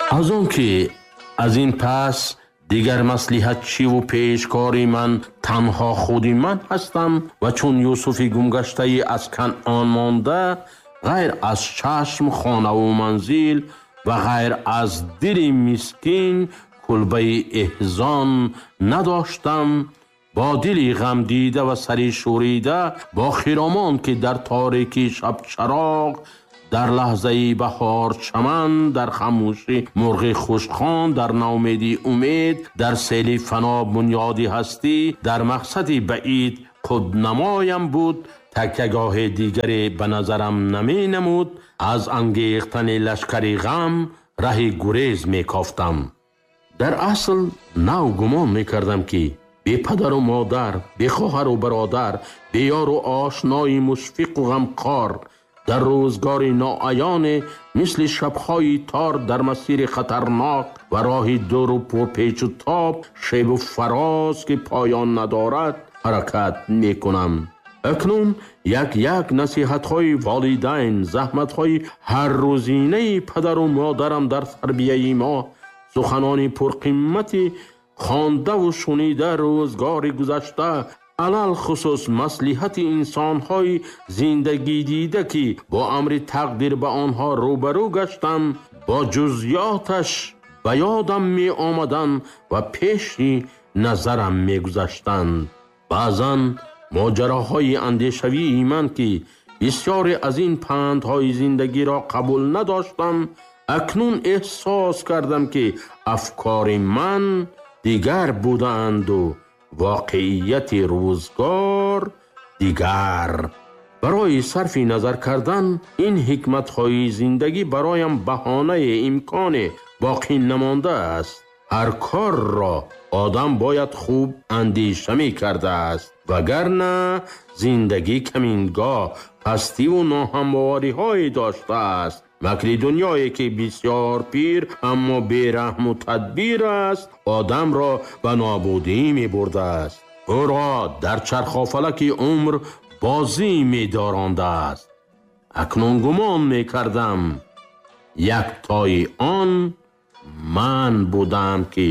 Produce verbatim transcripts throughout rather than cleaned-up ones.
Аз он ки аз ин пас дигар маслиҳатчиву пешкори ман танҳо худи ман ҳастам ва чун Юсуфи гумгаштаи аз Канъон монда, ғайр аз чашм хонаву манзил ва ғайр аз дили мискин кулбаи эҳзон надоштам, бо дили ғамдида ва сари шӯрида, бо хиромон ки дар торикӣ шабчароғ, дар лаҳзаи баҳор чаман, дар хамӯшӣ мурғи хушхон, дар наумедӣ умед, дар сели фано бунёди ҳастӣ, дар мақсади баид худнамоям буд, такягоҳи дигаре ба назарам наменамуд, аз ангехтани лашкари ғам раҳи гурез мекофтам. Дар асл нав гумон мекардам, ки бепадару модар, бехоҳару бародар, беёру ошнои мушфиқу ғамхор, дар рӯзгори ноаёне мисли шабҳои тор, дар масири хатарнок ва роҳи дуру пурпечу тоб, шебу фароз ки поён надорад, ҳаракат мекунам. Акнун як-як насиҳатҳои волидайн, заҳматҳои ҳаррӯзинаи падару модарам дар тарбияи мо, суханони пурқиммати хондаву шунида рӯзгори гузашта, алалхусус маслиҳати инсонҳои зиндагидида, ки бо амри тақдир ба онҳо рӯбарӯ гаштам, бо ҷузъиёташ ба ёдам меомаданд ва пеши назарам мегузаштанд. Баъзан моҷароҳои андешавии ман, ки бисёре аз ин пандҳои зиндагиро қабул надоштам, акнун эҳсос кардам, ки афкори ман дигар будаанду воқеияти рӯзгор дигар. Барои сарфи назар кардан ин ҳикматҳои зиндагӣ бароям баҳонаи имконе боқӣ намондааст. Ҳар корро одам бояд хуб андеша мекардааст, вагарна зиндагӣ камингоҳ пастиву ноҳамвориҳое доштааст. Макри дунёе ки бисёр пир, аммо бераҳму тадбир аст, одамро ба нобудӣ мебурдааст. Ӯро дар чархофалаки умр бозӣ медорондааст. Акнун гумон мекардам, яктои он ман будам, ки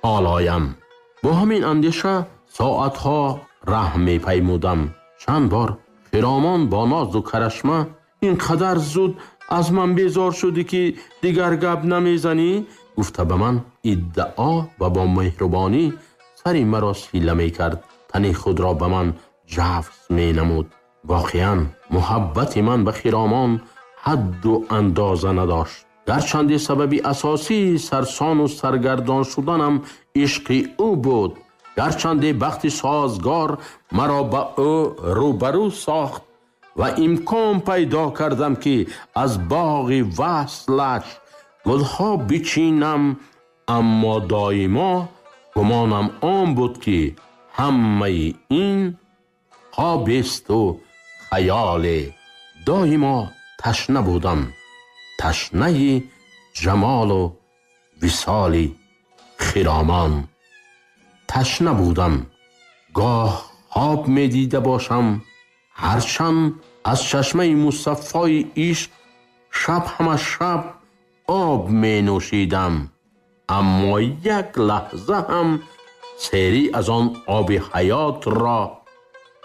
ҳолоям. Бо ҳамин андеша соатҳо раҳ мепаймудам. Чанд бор хиромон бо нозу карашма: ин қадар зуд аз ман безор шудӣ, ки дигар гап намезанӣ? Гуфта ба ман иддао ва бо меҳрубонӣ сари маро сила мекард, тани худро ба ман ҷафс менамуд. Воқеан муҳаббати ман ба хиромон ҳадду андоза надошт. Гарчанде сабаби асосии сарсону саргардон шуданам ишқи ӯ буд, гарчанде бахти созгор маро ба ӯ рӯбарӯ сохт ва имкон пайдо кардам, ки аз боғи васлаш гулҳо бичинам, аммо доимо гумонам он буд, ки ҳамаи ин хобесту хаёле. Доимо ташна будам, ташнаи ҷамолу висоли хиромон. Ташна будам. Гоҳ хоб медида бошам, ҳарчанд аз чашмаи мусаффои ишқ шаб ҳама шаб об менӯшидам, аммо як лаҳза ҳам серӣ аз он оби ҳаётро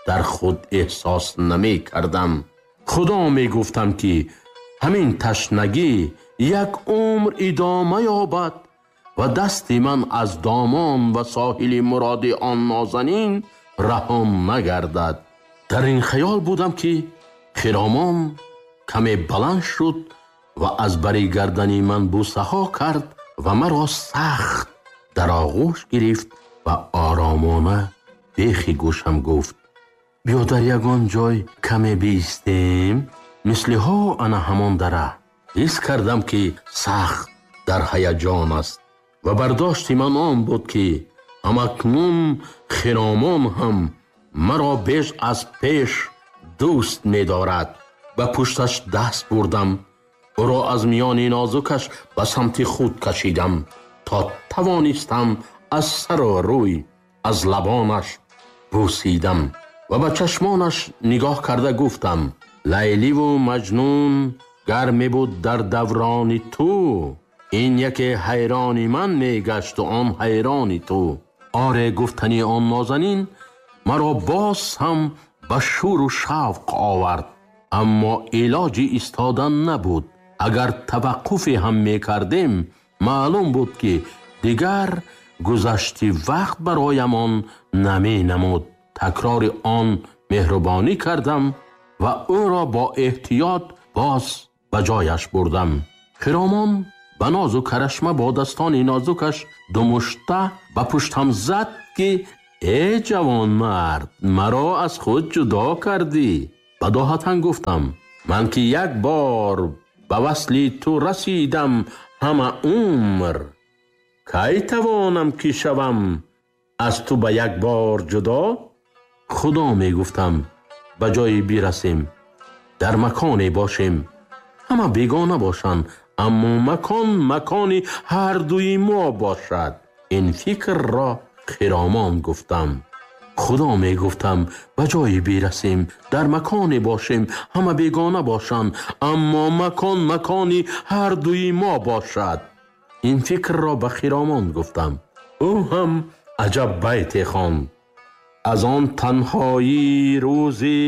дар худ эҳсос намекардам. Худо мегуфтам, ки ҳамин ташнагӣ як умр идома ёбад ва дасти ман аз домон ва соҳили муроди он нозанин раҳо нагардад. Дар ин хаёл будам, ки хиромон каме баланд шуд ва аз бари гардани ман бӯсаҳо кард ва маро сахт дар оғӯш гирифт ва оромона бехи гӯшам гуфт: биё дар ягон ҷой каме биистем, мисли ҳо ана ҳамон дара. Ҳис кардам, ки сахт дар ҳаяҷон аст ва бардошти ман он буд, ки ҳамакнун хиромон ҳам маро беш аз пеш дӯст медорад. Ба пушташ даст бурдам, ӯро аз миёни нозукаш ба самти худ кашидам, то тавонистам аз сару рӯй, аз лабонаш бӯсидам ва ба чашмонаш нигоҳ карда гуфтам: Лайливу Маҷнун гар мебуд дар даврони ту, Ин яке ҳайрони ман мегашт ва он ҳайрони ту. Оре, гуфтани он нозанин маро боз ҳам ба шуру шавқ овард, аммо илоҷи истодан набуд. Агар таваққуфе ҳам мекардем, маълум буд, ки дигар гузашти вақт бароямон наменамуд. Такрори он меҳрубонӣ кардам ва ӯро бо эҳтиёт боз ба ҷояш бурдам. Хиромон ба нозу карашма бо дастони нозукаш думушта ба пуштам зад, ки э ҷавонмард, маро аз худ ҷудо кардӣ. Бадоҳатан гуфтам: ман ки як бор ба васли ту расидам ҳама умр, кай тавонам ки шавам аз ту ба як бор ҷудо? Худо мегуфтам, ба ҷое бирасем, дар маконе бошем, ҳама бегона бошанд, аммо макон макони ҳар дуи мо бошад. Ин фикрро хиромон гуфтам. Худо мегуфтам, ба ҷое бирасем, дар маконе бошем, ҳама бегона бошанд, аммо макон макони ҳар дуи мо бошад. Ин фикрро ба хиромон гуфтам. Ӯ ҳам аҷаб байте хонд. Аз он танҳоӣ рӯзи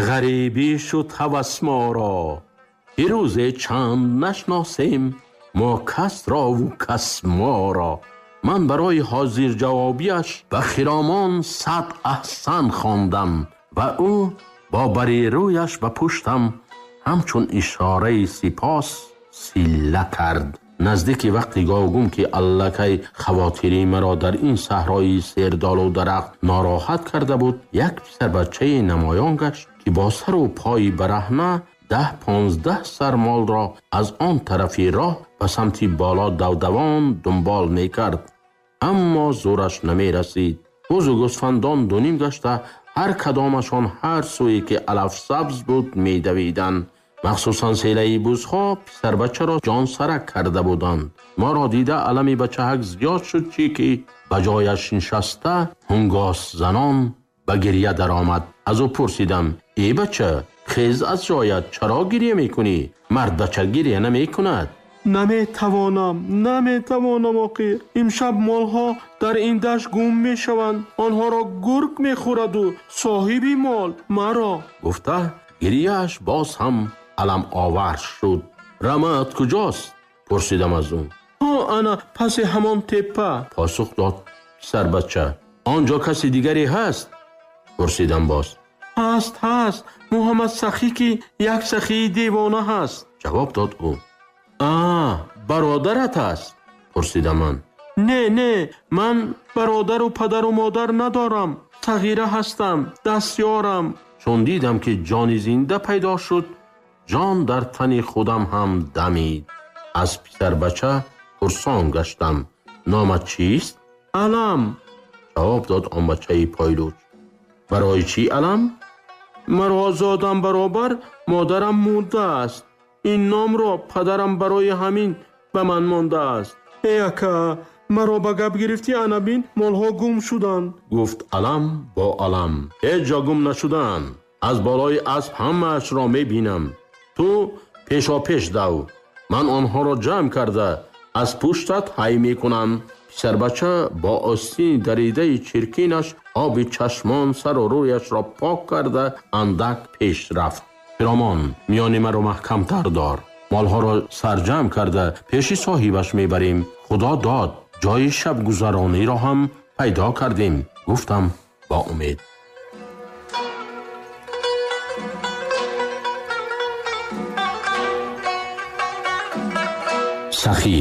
ғарибӣ шуд ҳавас моро, ки рӯзе чанд нашносем мо касрову кас моро. Ман барои ҳозирҷавобиаш ба хиромон сад аҳсан хондам ва ӯ бо бари рӯяш ба пуштам ҳамчун ишораи сипос силла кард. Наздики вақти говгум, ки аллакай хавотири маро дар ин саҳрои сердолу дарахт нороҳат карда буд, як писарбачаи намоён гашт, ки бо сару пои бараҳна даҳ понздаҳ сар молро аз он тарафи роҳ ба самти боло давдавон дунбол мекард, аммо зӯраш намерасид. Бузу гӯсфандон дуним гашта ҳар кадомашон ҳар сӯе ки алаф сабз буд медавиданд. Махсусан селаи бузҳо писарбачаро ҷонсарак карда буданд. Моро дида алами бачаҳак зиёд шуд, чӣ ки ба ҷояш нишаста ҳунгос занон ба гирья даромад. Аз ӯ пурсидам: э бача, хез аз ҷоят, чаро гирья мекунӣ? Мардбача гирья намекунад. Наметавонам, наметавонам оқир. Имшаб молҳо дар ин дашт гум мешаванд. Онҳоро гург мехӯраду соҳиби мол маро. Гуфта гирьяаш боз ҳам аламовар шуд. Рамаат куҷост? Пурсидам аз ӯ. Ҳо, ана паси ҳамон теппа, посух дод писарбача. Он ҷо каси дигаре ҳаст? Пурсидам боз. Ҳаст, ҳаст, Муҳаммад Сахӣ, ки як сахии девона ҳаст, ҷавоб дод ӯ. А, бародарат аст? Пурсидам ман. Не, не, ман бародару падару модар надорам, сағира ҳастам, дастёрам. Чун дидам, ки ҷони зинда пайдо шуд, ҷон дар тани худам ҳам дамид. Аз писарбача пурсон гаштам: номат чист? Алам, ҷавоб дод он бачаи пойлуч. Барои чӣ алам? Маро зодам баробар модарам мурдааст. Ин номро падарам барои ҳамин ба ман мондааст. Эй ака, маро ба гап гирифтӣ, ана бин, молҳо гум шуданд, гуфт алам бо алам. Ҳеҷ ҷо гум нашуданд. Аз болои асп ҳамаашро мебинам. Ту пешопеш дав, ман онҳоро ҷамъ карда аз пуштат ҳай мекунам. Писарбача бо остини даридаи чиркинаш оби чашмон сару рӯяшро пок карда андак пеш рафт. Хиромон, миёни маро маҳкамтар дор. Молҳоро сарҷамъ карда пеши соҳибаш мебарем. Худо дод, ҷои шабгузарониро ҳам пайдо кардем, гуфтам бо умед. Сахӣ.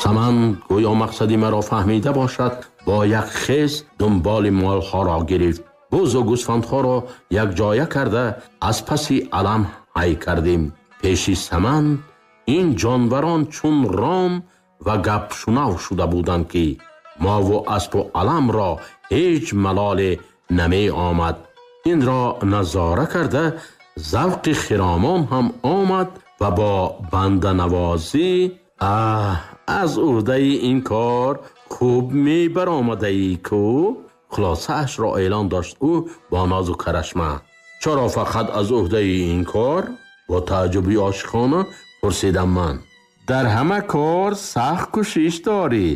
Саман гӯё мақсади маро фаҳмида бошад, бо як хез дунболи молҳоро гирифт. Бузу гӯсфандҳоро якҷоя карда аз паси алам ҳай кардем. Пеши Саман ин ҷонварон чун ром ва гапшунав шуда буданд, ки мову аспу аламро ҳеҷ малоле намеомад. Инро назора карда завқи хиромон ҳам омад ва бо банданавозӣ: аҳ, аз уҳдаи ин кор хуб мебаромадаӣ ку? Хулосаашро эълон дошт ӯ бо нозу карашма. Чаро фақат аз уҳдаи ин кор? Бо тааҷҷуби ошиқона пурсидам ман. Дар ҳама кор сахт кӯшиш дорӣ,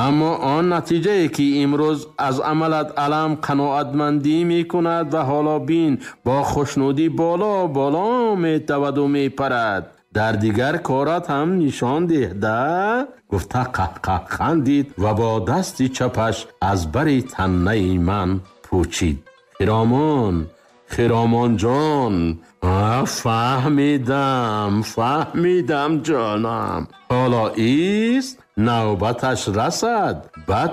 аммо он натиҷае ки имрӯз аз амалат алам қаноатмандӣ мекунад ва ҳоло бин бо хушнудӣ боло боло метаваду мепарад, дар дигар корат ҳам нишон деҳ да. Гуфта қаҳқаҳ хандид ва бо дасти чапаш аз бари таннаи ман пӯчид. Хиромон, Хиромон ҷон, фаҳмидам, фаҳмидам ҷонам. Ҳоло ист навбаташ расад, баъд